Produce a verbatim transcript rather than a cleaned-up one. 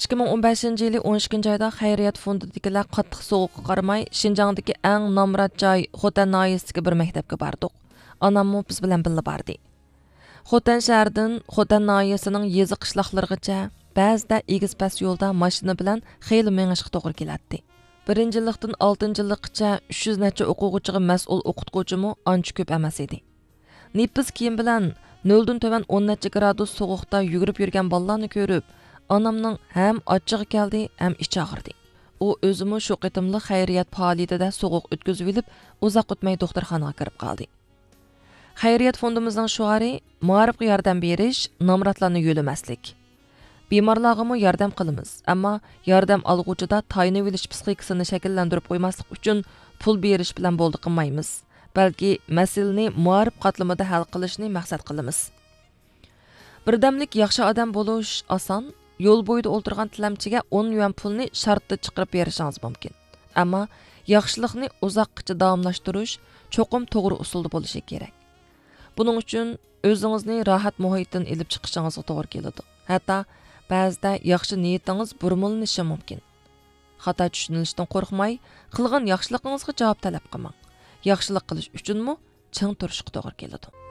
ئىككى مىڭ ئون بەشىنچى يىلى ئون ئىككىنچى ئايدا خەيرىيەت فوندىدىكىلەر قاتتىق سوغۇققا قارىماي، شىنجاڭدىكى ئەڭ نامرات جاي خوتەن ناھىيەسىدىكى بىر مەكتەپكە باردۇق. ئاناممۇ بىز بىلەن بىللە باردى. خوتەن شەھىرىدىن خوتەن ناھىيەسىنىڭ يېزا قىشلاقلىرىغىچە، بەزىدە ئېگىز پەس يولدا ماشىنا بىلەن خېلى مېڭىشقا توغرا كېلەتتى. بىرىنچى يىللىقتىن ئالتىنچى يىللىققىچە ئۈچ يۈز نەچچە ئوقۇغۇچىغا مەسئۇل ئوقۇتقۇچىمۇ ئانچە كۆپ ئەمەس ئىدى. نېپىز كىيىم بىلەن نۆلدىن تۆۋەن ئون نەچچە گرادۇس سوغۇقتا يۈگۈرۈپ يۈرگەن بالىلارنى كۆرۈپ، ئانامنىڭ ھەم ئاچچىقى كەلدى، ھەم ئىچى ئاغرىدى. ئۇ ئۆزىمۇ شۇ قېتىملىق خەيرىيەت پائالىيىتىدە سوغۇق ئۆتكۈزۈۋېلىپ، ئۇزاق ئۆتمەي دوختۇرخانىغا كىرىپ قالدى. خەيرىيەت فوندىمىزنىڭ شوئارى، مائارىپقا ياردەم بېرىش، نامراتلارنى يۆلىمەسلىك. بىمارلارغىمۇ ياردەم قىلىمىز، ئەمما ياردەم ئالغۇچىدا تايىنىۋېلىش پىسخىكىسىنى شەكىللەندۈرۈپ قويماسلىق ئۈچۈن پۇل بېرىش بىلەن بولدى قىلمايمىز، بەلكى مەسىلىنى مائارىپ قاتلىمىدا ھەل قىلىشنى مەقسەت قىلىمىز. بىردەملىك ياخشى ئادەم بولۇش ئاسان، يول بويىدا ئولتۇرغان تىلەمچىگە ئون يۈەن پۇلنى شارتتا چىقىرىپ بېرىشىڭىز مۇمكىن. ئەمما ياخشىلىقنى ئۇزاققىچە داۋاملاشتۇرۇش چوقۇم توغرا ئۇسۇلدا بولۇشى كېرەك. بۇنىڭ ئۈچۈن ئۆزىڭىزنى راھەت مۇھىتتىن ئېلىپ چىقىشىڭىزغا توغرا كېلىدۇ. ھەتتا بەزىدە ياخشى نىيىتىڭىز بۇرمىلىنىشى مۇمكىن. خاتا چۈشىنىلىشتىن قورقماي، قىلغان ياخشىلىقىڭىزغا جاۋاب تەلەپ قىلماڭ. ياخشىلىق قىلىش ئۈچۈنمۇ چىڭ تۇرۇشقا توغرا كېلىدۇ.